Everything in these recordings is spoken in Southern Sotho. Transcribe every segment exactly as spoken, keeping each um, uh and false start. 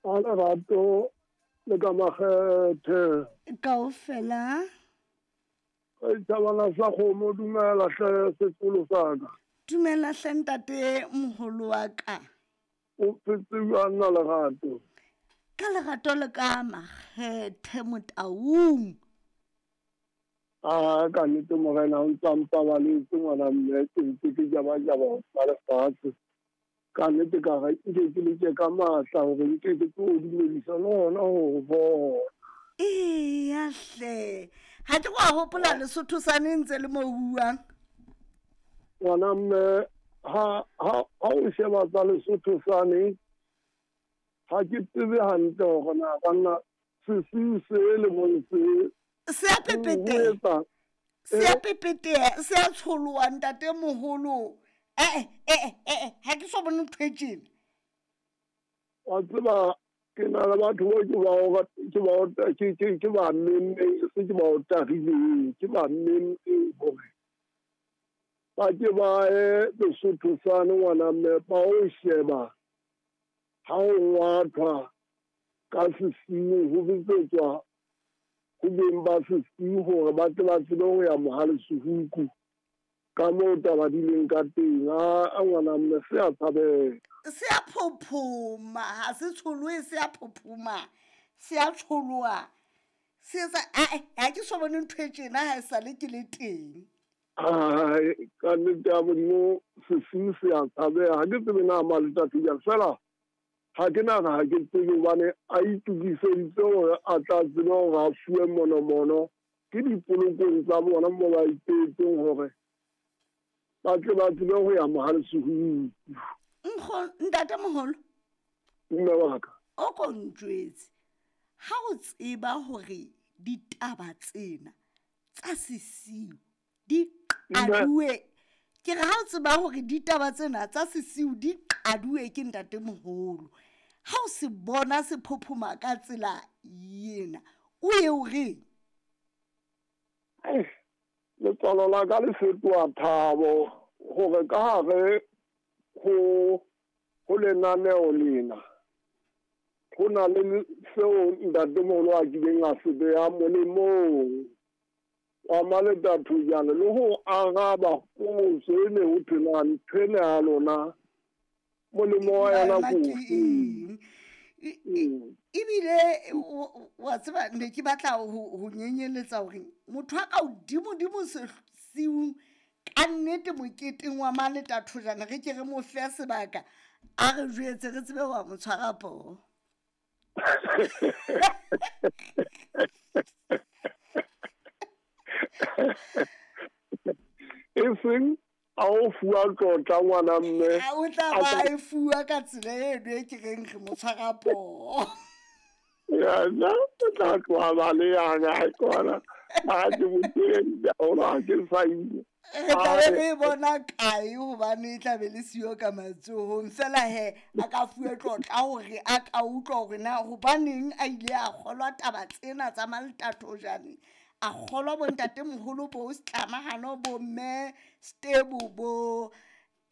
A lerato le ka makgethe. Kaofela. Thabana sa kgomo, dumela hle sekolo sa ka. Dumela hle ntate moholo wa ka. O phetse jwang na lerato? Ka lerato le ka makgethe Motaung. A ka nnete morena o ntsa mpabaletse ngwana mme, ke ntse ke jabajaba ba lefatshe. Ka nnete ka re nke ke leke ka matla hore nke ke tlo dumedisa le hona ho bona. Eya hle, ha ke go a hopola Lesotho sane ntse le mo buang. Ngwana mme, ha ha ha o sheba tsa Lesotho sane, ha ke tsebe hantle hore na banna sesiu se le mong se se a pepete, se a pepete, se a tsholoha ntate moholo. Eh eh eh, ha ke so bone ntho e tjena. Wa tseba ke na le batho bao ke ba ke ba ke ke ke ba mmemmeng, se ke ba o tagileng, ke ba mmemmeng hore ba ke ba ye Lesotho sane ngwana mme, ba o sheba ha o ngwathwa ka sesiu ho bitsetswa ho beng ba sesiu hore ba tle ba tsebe ho ya Mohalesehuku ka moo taba di leng ka teng. A ngwana mme, se a tshabeha. Se a phophoma, ha se tsholohe, se a phophoma, se a tsholoha. Se etsa, ae, ha ke so bone ntho e tjena ha e sale ke le teng. Ai, ka nnete ya Modimo sesiu se a tshabeha. Ha ke tsebe na Maletathujana fela, ha ke nahana ha ke tsebe hobane a itokiseditse hore a tla tsebe hore a fuwe monomono ke dipolokong tsa bona moo ba ipehetseng hore ba tle ba tsebe ho ya Mohalesehuku. Nkgo, ntate moholo. Mme wa ka. O ko njwetse, ha o tseba hore ditaba tsena tsa sesiu di qaduwe, ke re ha o tseba hore ditaba tsena tsa sesiu di qaduwe ke ntate moholo, ha o se bona se phophoma ka tsela ena, o ye o reng? Letswalo la ka le fetoha thabo hore ka hare ho ho lenaneo lena ho na le seo ntatemoholo a kileng a se beha molemong wa Maletathujana le ho araba potso e ne ho thwe na ntho ena ya lona molemo wa yona ke ofe? Ebile wa tseba ne ke batla ho nyenyeletsa hore motho a ka hodimodimo sesiung ka nnete moketeng wa Maletathujana re ke re mo fe sebaka a re jwetse re tsebe wa mo tshwara poho. E seng a o fuwa tlotla ngwana mme, a o tla ba e fuwa ka tsela eno e ke reng re mo tshwara poho. Yena o tla tloha ba le yana ha kona ha ke mo teng ha ke sa ile. Re tla be re bona kae hobane e tla be le siyo ka matsohong. Fela he a ka fuwe tlotla hore a ka utlwa hore na hobaneng a ile a kgolwa taba tsena tsa Maletathojane, a kgolwa bo ntatemoholo bo Setlamahano bo mme Stebo bo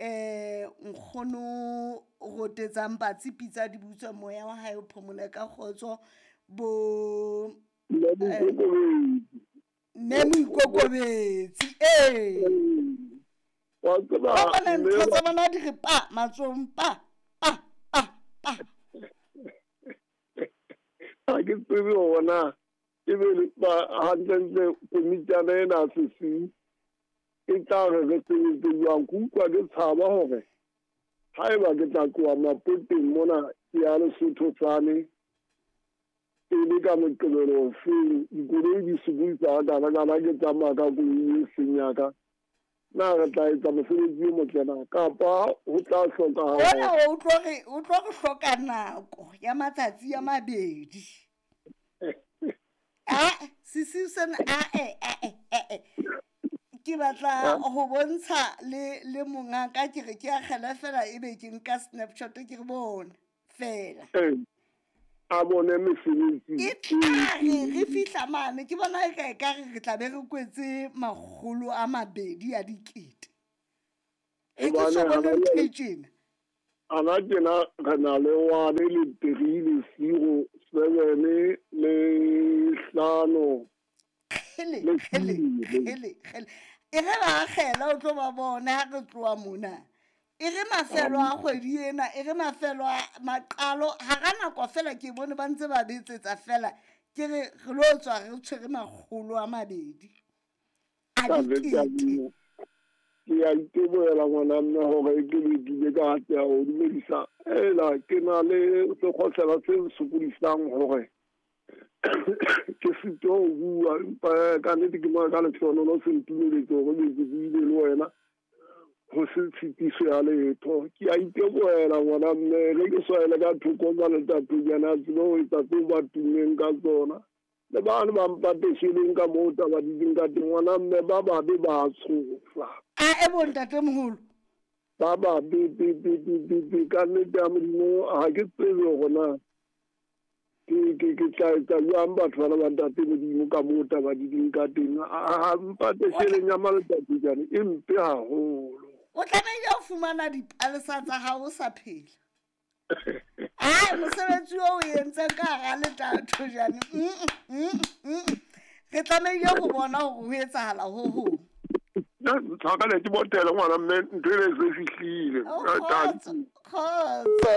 eh nkgono rotetsang patsi pitsa di butswa moya wa hae o phomole ka kgotso bo mme Moikokobetsi. Ee, wa tseba ba bona ntho tsa bona di re pa matsohong pa pa pa pa. Ha ke tsebe hore na ebe ba hantlentle komitjana ena sesiu e tla re re sebetse jwang. Ke utlwa ke tshaba hore haeba ke tla tloha Mapoteng mona ke ya Lesotho sane e le ka Moqebelo ofeng, dikoloi di sokodisa hakana-kana ke tsamaya ka koloi e seng ya ka, na re tla etsa mosebetsi o motle na kapa ho tla hlokahala? Ona o tlo re o tlo re hloka nako ya matsatsi a mabedi. Ah, sesiu sena ae ae ae ke batla ho bontsha le le mongaka ke re ke akgela fela ebe ke nka snapshot ke re bona fela. A bone mesebetsi. E tla re re fihla mane ke bona e ka e ka re re tla be re kwetse makgolo a mabedi a dikete. E ke so bone ntho e tjena. Ana tjena re na le one le three le zero seven le hlano. Kgele, kgele, kgele, kgele. E re ba akgela o tlo ba bona ha re tloha mona. E re mafelo a kgwedi ena, e re mafelo a maqalo hara nako fela ke bone ba ntse ba betsetsa fela. Ke re re lo tswa re tshwere makgolo a mabedi. A dikete. Ke a itebohela ngwana mme hore ke be ke ile ka atleha ho dumedisa. Ela ke na le sekgohlela se nsokodisang hore ke sitwa ho bua, empa ka nnete ke ka lehlohonolo se ntumeletse hore be ke buile le wena ho se tshitiso ya letho. Ke a itebohela ngwana mme ge ke swaele ka thoko ka letatonyana a tsebe ho etsa tseo ba tummeng ka tsona. Le bane ba mpatesheleng ka moo taba di leng ka teng ngwana mme ba babe ba tshosa. A e bo ntatemoholo. Ba babe be be be be be ka nnete ya Modimo ha ke tsebe hore na ke ke ke tla etsa jwang batho bana ba ntate Modimo ka moo taba di leng ka teng. Ha mpatesheleng ya maletatonyane e mpe haholo. O tlamehile ho fumana dipalesa tsa hao o sa phela. Ai mosebetsi o o entseng ka hara letathojane. Re tlamehile ho bona hore ho etsahala ho hong. Tshwarele ke botele ngwana mme ntho ena e se fihlile. Kgotso, kgotso.